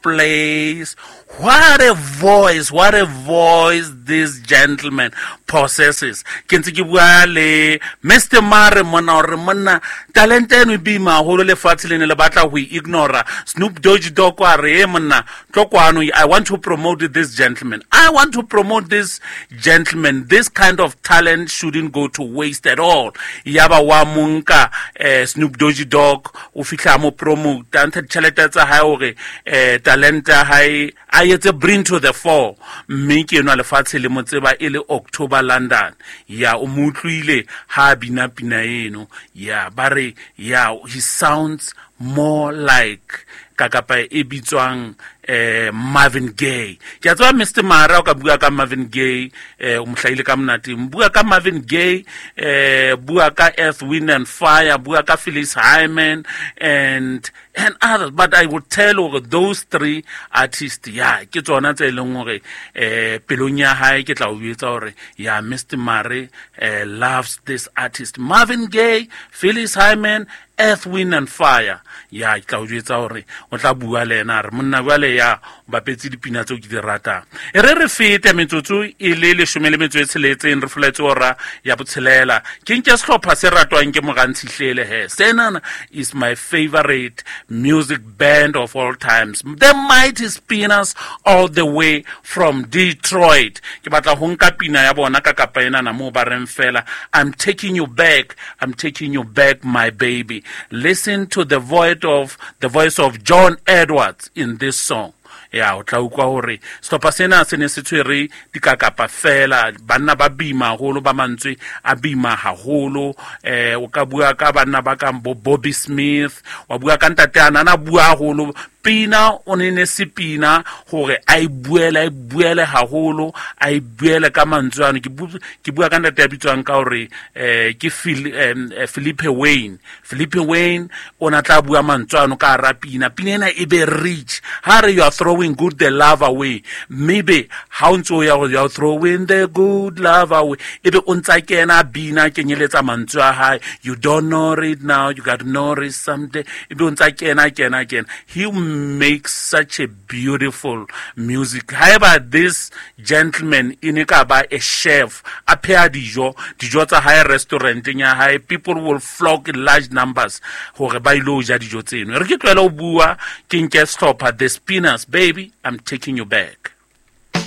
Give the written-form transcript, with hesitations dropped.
Place. What a voice, what a voice this gentleman possesses. Ke ntse ke bua le Mr. Mare mona hore monna talente eno e boima haholo, lefatshe le ne le batla ho e ignora. Snoop Doggy Dogg a re, "E monna, tlo kwano, I want to promote this gentleman. I want to promote this gentleman. This kind of talent shouldn't go to waste at all." Yaba wa monka Snoop Doggy Dogg o fihla mo promote, a ntsha ditjhelete tsa hae hore talente ya hae a etse bring to the fore, mme ke enwa lefatshe le mo tseba e le October London. Ya o mo utlwile ha a bina pina eno ya ba re ya he sounds more like kakapa e bitswang Marvin Gaye. Ke a tseba Mr Mara o ka bua ka Marvin Gaye, o mo hlahile ka monateng. Bua ka Marvin Gaye, bua ka Earth, Wind and Fire, bua ka Phyllis Hyman and others, but I would tell hore those three artists ya ke tsona tse leng hore pelong ya hae ke tla o etsa hore ya Mr Mare loves this artist, Marvin Gaye, Phyllis Hyman, Earth, Wind and Fire. Ya ke tla o jwetsa hore o tla bua le ena a re monna jwale ya o bapetse dipina tseo ke di ratang. E re re fete metsotso e le 16 re foletse ora ya botshelela. Ke nke sehlopha se ratwang ke Mogantshihlele he. Senana is my favorite music band of all times, the Mighty Spinners, all the way from Detroit. Ke batla ho nka pina ya bona ka kapa enana moo ba reng fela, "I'm taking you back, I'm taking you back, my baby." Listen to the voice of John Edwards in this song. Ya o tla utlwa hore sehlopha sena se ne se tshwere dikakapa fela, banna ba bima haholo, ba mantswe a bima haholo. O ka bua ka banna ba kang bo Bobby Smith, wa bua ka ntate ana ana bua haholo. Pina o ne ne se pina hore a e buele, a e buele haholo, a e buele ka mantswe ano. Ke bua ka ntate ya bitswang ka hore ke Philippe Wayne. Philippe Wayne o na tla bua mantswe ano ka hara pina, pina ena e be rich. Ha re, "You are throwing good the love away," maybe ha o ntse o ya go, "You are throwing the good love away," ebe o ntsa kena bina kenyeletsa mantswe a hae, "You don't know it now, you got to know it someday," ebe o ntsa kena kena kena. He makes such a beautiful music. However, this gentleman e ne ka ba a chef, a pheha dijo, dijo tsa hae restauranteng ya hae, people will flock in large numbers hore ba ilo ja dijo tseno. Re ke tlohele ho bua, ke nke sehlopha The Spinners, "Baby, I'm Taking You Back."